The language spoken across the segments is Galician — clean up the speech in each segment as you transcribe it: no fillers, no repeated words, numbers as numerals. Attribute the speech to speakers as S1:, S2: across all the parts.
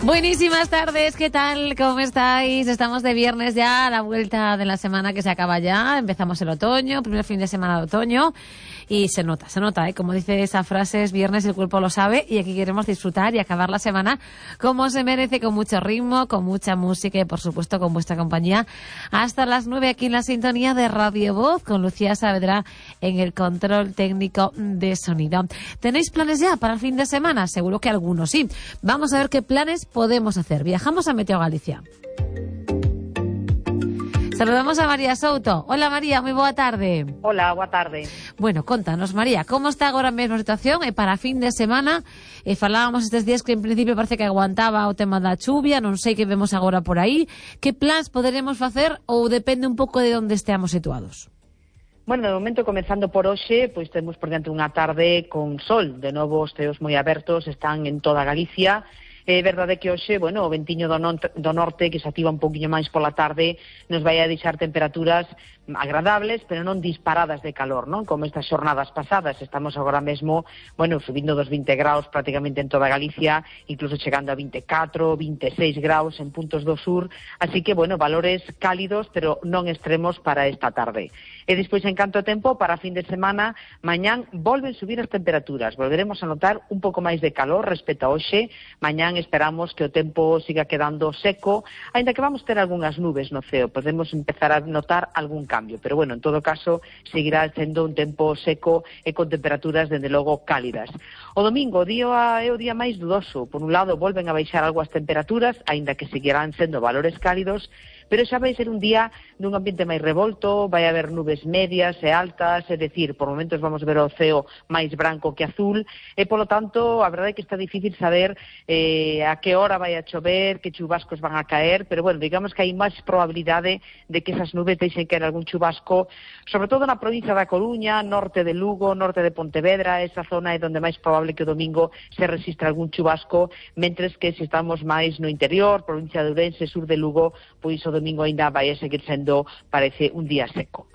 S1: Buenísimas tardes, ¿qué tal? ¿Cómo estáis? Estamos de viernes ya, a la vuelta de la semana que se acaba ya. Empezamos el otoño, primer fin de semana de otoño. Y se nota, ¿eh? Como dice esa frase, es viernes, el cuerpo lo sabe. Y aquí queremos disfrutar y acabar la semana como se merece, con mucho ritmo, con mucha música y, por supuesto, con vuestra compañía. Hasta las 9 aquí en la sintonía de Radio Voz, con Lucía Saavedra en el control técnico de sonido. ¿Tenéis planes ya para el fin de semana? Seguro que algunos sí. Vamos a ver qué planes podemos hacer. Viajamos a Meteo Galicia. Saludamos a María Souto. Hola María, moi boa tarde.
S2: Hola, boa tarde.
S1: Bueno, contanos María, como está agora mesmo a situación para fin de semana? Falábamos estes días que en principio parece que aguantaba o tema da chuvia, non sei que vemos agora por aí. Que plans poderemos facer ou depende un pouco de onde esteamos situados?
S2: Bueno, de momento, comenzando por hoxe, pois temos por diante unha tarde con sol. De novo, os ceos moi abertos están en toda Galicia. É verdade que hoxe, bueno, o ventiño do norte, que se activa un poquinho máis pola tarde, nos vai a deixar temperaturas agradables, pero non disparadas de calor, non? Como estas xornadas pasadas. Estamos agora mesmo, bueno, subindo dos 20 graus prácticamente en toda Galicia, incluso chegando a 24, 26 graus en puntos do sur, así que, bueno, valores cálidos, pero non extremos para esta tarde. E despois, en canto a tempo, para fin de semana, mañán volven subir as temperaturas, volveremos a notar un pouco máis de calor respecto a hoxe. Mañán esperamos que o tempo siga quedando seco, aínda que vamos ter algunhas nubes no ceo, podemos empezar a notar algún cambio, pero bueno, en todo caso, seguirá sendo un tempo seco e con temperaturas, dende logo, cálidas. O domingo, é o día máis dudoso. Por un lado, volven a baixar algo as temperaturas, aínda que seguirán sendo valores cálidos, pero xa vai ser un día nun ambiente máis revolto, vai haber nubes medias e altas, é dicir, por momentos vamos ver o ceo máis branco que azul, e polo tanto, a verdade é que está difícil saber a que hora vai a chover, que chubascos van a caer, pero bueno, digamos que hai máis probabilidade de que esas nubes deixen caer algún chubasco, sobre todo na provincia da Coruña, norte de Lugo, norte de Pontevedra. Esa zona é onde máis probable que o domingo se resistra algún chubasco, mentres que se estamos máis no interior, provincia de Ourense, sur de Lugo, pois o domingo ainda vai a seguir sendo, parece, un día seco.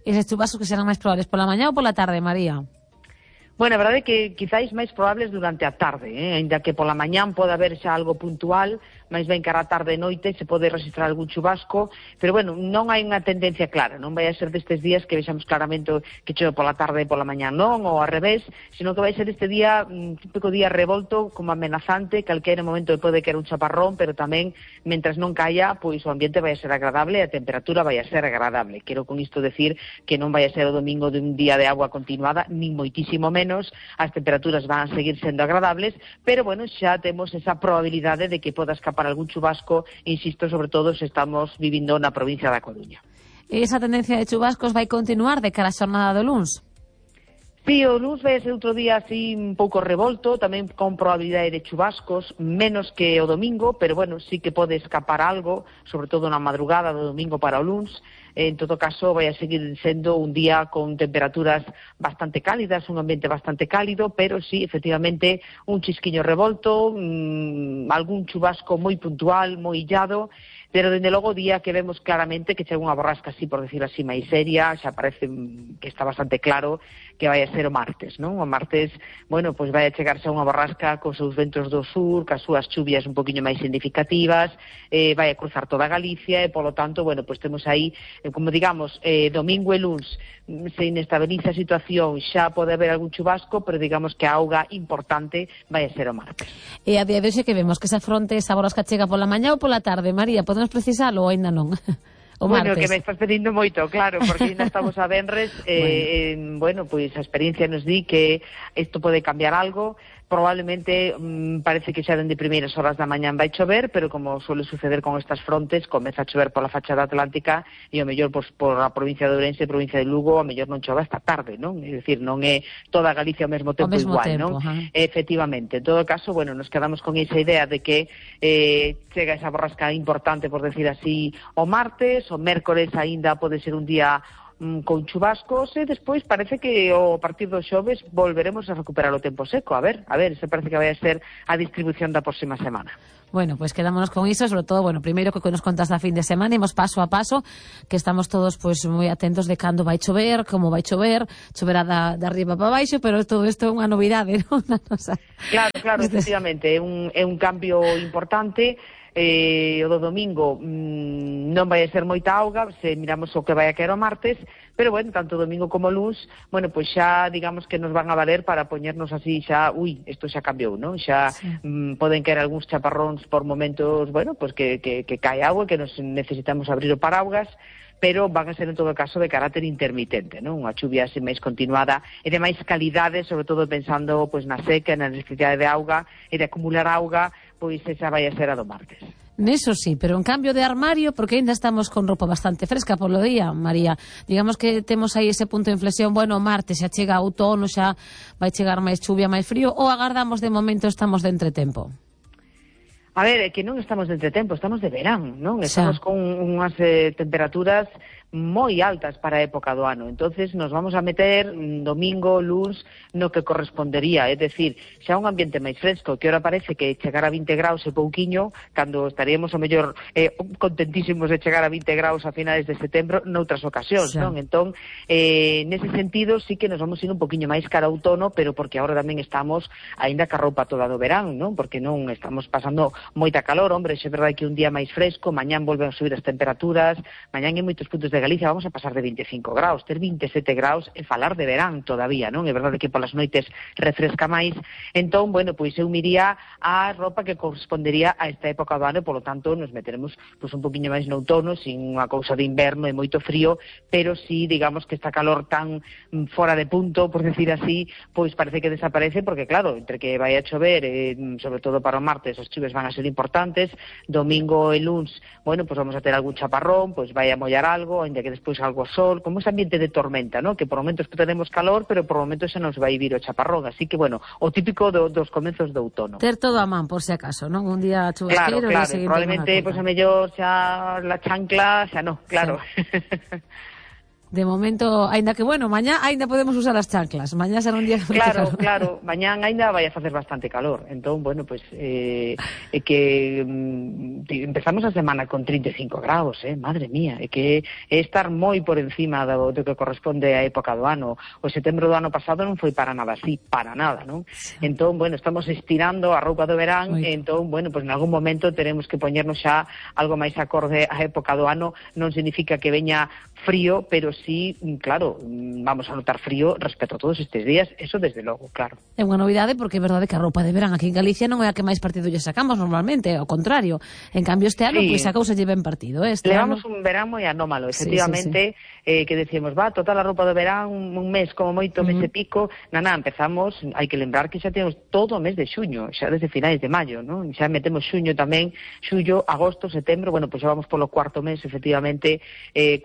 S1: Eses chubascos que serán máis probables pola mañá ou pola tarde, María?
S2: Bueno, a verdade é que quizáis máis probables durante a tarde, ainda que pola mañán pode haber xa algo puntual, máis ben cara a tarde e noite se pode registrar algún chubasco, pero bueno, non hai unha tendencia clara, non vai a ser destes días que vexamos claramente que chove pola tarde e pola mañán, non, ou ao revés, sino que vai ser este día, un típico día revolto, como amenazante, calquera momento pode caer un chaparrón, pero tamén, mentras non caia, pois o ambiente vai a ser agradable e a temperatura vai a ser agradable. Quero con isto decir que non vai a ser o domingo de un día de agua continuada, nin moitísimo menos, as temperaturas van a seguir sendo agradables, pero bueno, xa temos esa probabilidade de que poda escapar algún chubasco, insisto, sobre todo se estamos vivindo na provincia da Coruña.
S1: Esa tendencia de chubascos vai continuar de cara a xornada do luns?
S2: Sí, o luns vai ser outro día así un pouco revolto, tamén con probabilidade de chubascos, menos que o domingo, pero bueno, sí que pode escapar algo, sobre todo na madrugada do domingo para o luns. En todo caso, vai a seguir sendo un día con temperaturas bastante cálidas, un ambiente bastante cálido, pero sí, efectivamente, un chisquiño revolto, algún chubasco moi puntual, moi illado, pero dende logo o día que vemos claramente que chega unha borrasca así, por decirlo así, máis seria, xa parece que está bastante claro que vai a ser o martes, non? O martes, bueno, pois vai a chegarse unha borrasca cos seus ventos do sur, cas súas chuvias un poquinho máis significativas, vai a cruzar toda Galicia e, polo tanto, bueno, pois temos aí, como digamos, domingo e luns se inestabiliza a situación, xa pode haber algún chubasco, pero digamos que a auga importante vai a ser o martes.
S1: E a día de hoxe que vemos que esa fronte, esa borrasca chega pola mañá ou pola tarde, María? Podemos precisalo ou ainda non? O
S2: bueno,
S1: martes.
S2: Que me estás pedindo moito, claro, porque ainda estamos a venres, bueno, pois a experiencia nos di que isto pode cambiar algo. Probablemente parece que xa dende primeiras horas da mañán vai chover, pero como suele suceder con estas frontes, comeza a chover pola fachada atlántica e o mellor por a provincia de Ourense, provincia de Lugo, o mellor non chove esta tarde, non? É dicir, non é toda Galicia ao mesmo tempo igual, non? Efectivamente. En todo caso, bueno, nos quedamos con esa idea de que chega esa borrasca importante, por decir así, o martes, o mércores aínda pode ser un día con chubascos e despois parece que a partir do xoves volveremos a recuperar o tempo seco. A ver, se parece que vai a ser a distribución da próxima semana.
S1: Bueno, pues quedámonos con iso, sobre todo, bueno, primeiro que nos contas da fin de semana, imos paso a paso, que estamos todos pues moi atentos de cando vai chover, como vai chover, choverá da arriba para baixo, pero todo isto é unha novidade, non?
S2: Claro, efectivamente, é un cambio importante. O do domingo non vai a ser moita auga se miramos o que vai a caer o martes, pero bueno, tanto domingo como luns, bueno, pois xa digamos que nos van a valer para poñernos así xa, isto xa cambiou, non? Xa poden caer algúns chaparróns por momentos, bueno, pois que cae agua, que nos necesitamos abrir o paraugas, pero van a ser en todo caso de carácter intermitente, non? Unha chuvia así máis continuada e de máis calidade, sobre todo pensando pois na seca, na necesidade de auga e de acumular auga, pois esa vai a ser a do martes.
S1: Neso sí, pero en cambio de armario, porque ainda estamos con roupa bastante fresca polo día, María. Digamos que temos aí ese punto de inflexión, bueno, martes xa chega outono, xa vai chegar máis chuvia, máis frío, ou agardamos de momento estamos de entretempo?
S2: A ver, é que non estamos de entretempo, estamos de verán, non? Estamos con unhas temperaturas moi altas para a época do ano. Entonces nos vamos a meter domingo, luns, no que correspondería, é dicir, xa un ambiente máis fresco, que ora parece que chegar a 20 graus é pouquiño, cando estaríamos o mellor contentísimos de chegar a 20 graus a finales de setembro noutras ocasións, non? Entón, nese sentido sí que nos vamos ir un poquinho máis cara a outono, pero porque agora tamén estamos aínda ca roupa toda do verán, non? Porque non estamos pasando moita calor, hombre, é verdade que un día máis fresco, mañán volven a subir as temperaturas, mañán en moitos puntos de Galicia vamos a pasar de 25 graus, ter 27 graus e falar de verán todavía, non? É verdade que polas noites refresca máis, entón, bueno, pois eu miría a roupa que correspondería a esta época do ano e, polo tanto, nos meteremos pois un poquinho máis no outono, sin unha cousa de inverno e moito frío, pero sí, digamos que esta calor tan fora de punto, por decir así, pois parece que desaparece, porque claro, entre que vai a chover, sobre todo para o martes, as chuves van a ser importantes, domingo e luns, bueno, pois vamos a ter algún chaparrón, pois vai a mollar algo, ainda que despois algo sol, como ese ambiente de tormenta, ¿no? Que por momentos tenemos calor, pero por momentos se nos vai vir o chaparrón, así que, bueno, o típico dos comenzos de outono.
S1: Ter todo a man, por si acaso, non? Un día chubasqueiro...
S2: Claro, probablemente, pois a mellor xa la chancla, xa no, claro. Sí.
S1: De momento, aínda que, bueno, mañá aínda podemos usar as chanclas. Mañá será un día...
S2: Claro. Mañán aínda vai a facer bastante calor. Entón, bueno, pois, é que empezamos a semana con 35 graus, madre mía. É que é estar moi por encima do que corresponde á época do ano. O setembro do ano pasado non foi para nada así, para nada, non? Sí. Entón, bueno, estamos estirando a roupa do verán, entón, bueno, pois en algún momento teremos que poñernos xa algo máis acorde á época do ano. Non significa que veña frío, pero sí, claro, vamos a notar frío respecto a todos estes días, eso desde logo, claro.
S1: É unha novidade porque é verdade que a roupa de verán aquí en Galicia non é a que máis partido lle sacamos normalmente, ao contrario. En cambio este ano, pois sacouse lle ben partido.
S2: Levamos un verán moi anómalo, efectivamente, que decíamos, total a roupa de verán un mes, como moito, mes e pico, empezamos, hai que lembrar que xa temos todo o mes de xuño, xa desde finais de maio, non? Xa metemos xuño tamén, xullo, agosto, setembro, bueno, pois xa vamos polo cuarto mes, efectivamente,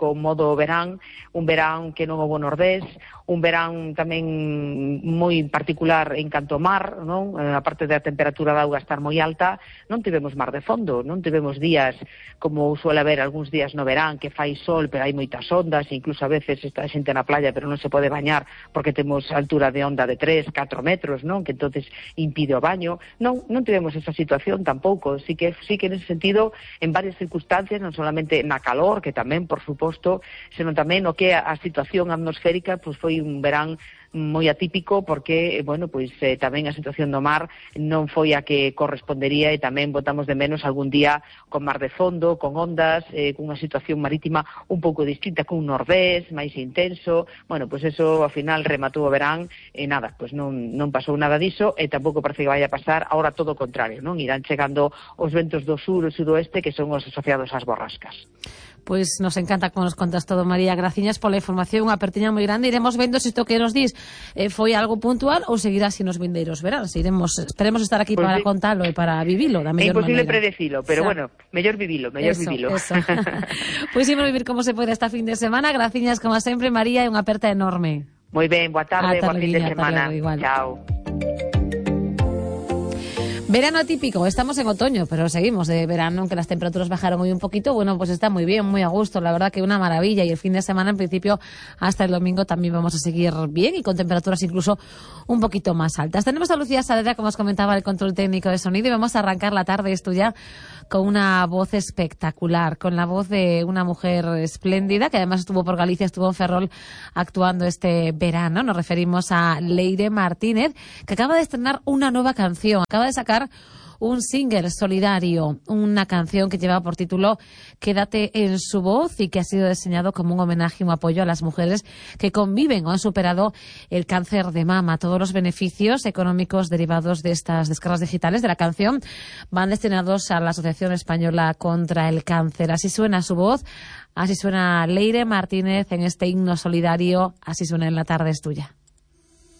S2: con modo verán, un verán que non houbo nordés, un verán tamén moi particular en canto ao mar, non? A parte da temperatura da auga estar moi alta, non tivemos mar de fondo, non tivemos días como suele haber algúns días no verán que fai sol, pero hai moitas ondas, incluso a veces está a xente na playa pero non se pode bañar porque temos altura de onda de 3, 4 metros, non? Que entonces impide o baño. Non tivemos esa situación tampouco, sí que nese sentido, en varias circunstancias, non solamente na calor, que tamén, por suposto, senón tamén o que a situación atmosférica, pois foi un verán moi atípico porque, bueno, pois tamén a situación do mar non foi a que correspondería e tamén botamos de menos algún día con mar de fondo, con ondas, con unha situación marítima un pouco distinta, con un nordés máis intenso. Bueno, pois eso ao final rematou o verán e nada, pois non pasou nada diso e tampouco parece que vai a pasar agora todo o contrario, non? Irán chegando os ventos do sur e sudoeste que son os asociados ás borrascas.
S1: Pois nos encanta como nos contas todo, María. Graciñas pola información, unha apertiña moi grande. Iremos vendo se isto que nos dís foi algo puntual ou seguirá así nos vindeiros veráns. Esperemos estar aquí para contalo e para vivilo da mellor maneira.
S2: É imposible predecilo, pero bueno, mellor vivilo. Eso.
S1: Pois imos vivir como se pode esta fin de semana. Graciñas como sempre, María, e unha aperta enorme.
S2: Moi ben, boa tarde, boa fin de semana. Chao.
S1: Verano atípico, estamos en otoño, pero seguimos de verano, aunque las temperaturas bajaron hoy un poquito. Bueno, pues está muy bien, muy a gusto, la verdad que una maravilla. Y el fin de semana, en principio, hasta el domingo también vamos a seguir bien y con temperaturas incluso un poquito más altas. Tenemos a Lucía Saavedra, como os comentaba, el control técnico de sonido, y vamos a arrancar la tarde esto ya con una voz espectacular, con la voz de una mujer espléndida, que además estuvo por Galicia, estuvo en Ferrol actuando este verano. Nos referimos a Leire Martínez, que acaba de estrenar una nueva canción, acaba de sacar un single solidario, una canción que lleva por título Quédate en su voz y que ha sido diseñado como un homenaje y un apoyo a las mujeres que conviven o han superado el cáncer de mama. Todos los beneficios económicos derivados de estas descargas digitales de la canción van destinados a la Asociación Española contra el Cáncer. Así suena su voz, así suena Leire Martínez en este himno solidario, así suena En la tarde es tuya.